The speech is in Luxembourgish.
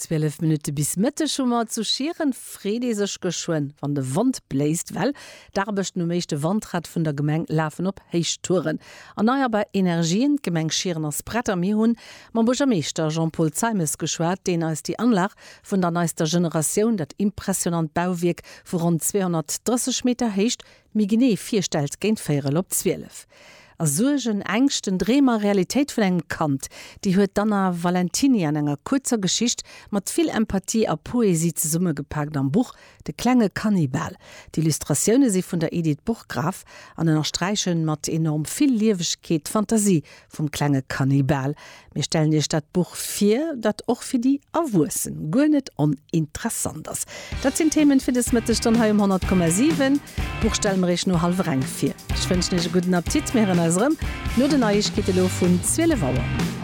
12 Minutte bis Mëtteg hu mer. Zu Schieren freet ee sech geschwënn, wann de Wand bléist, well d'Aarbechten um éischte Wandrad vun der Gemeng lafen op Héichtouren. Erneierbar Energien, D'Gemeng Schieren ass prett a mir hunn mam Buergermeeschter Jean-Paul Zeimes geschwat, deen eis déi Anlag vun der neister Generatioun, dat impressionant Bauwierk vu ronn 230 Meter Héicht, méi genee virstellt géint véierel op 12. A Suergen, Ängschten, Dreem a Realitéit vun engem Kand, déi huet d'Anna Valentiny an enger kuerzer Geschicht mat vill Empathie a Poesie zesummegepaakt am Buch De klenge Kannibal. D'Illustratioune si vun der Edith Burggraf an ënnersträiche mat enorm vill Liewegkeet d'Fantasie vum klenge Kannibal. Mir stellen Iech dat Buch vir, dat och fir déi Erwuessen guer net oninteressant ass. Dat sinn d'Themen fir des Mëtteg dann hei um 100,7. D'Buch stelle mer Iech no hallwer eng vir. Ech wënschen Iech e gudden Appetit. Mir héieren eis erëm no den Neiegkeete lo vun 12 Auer.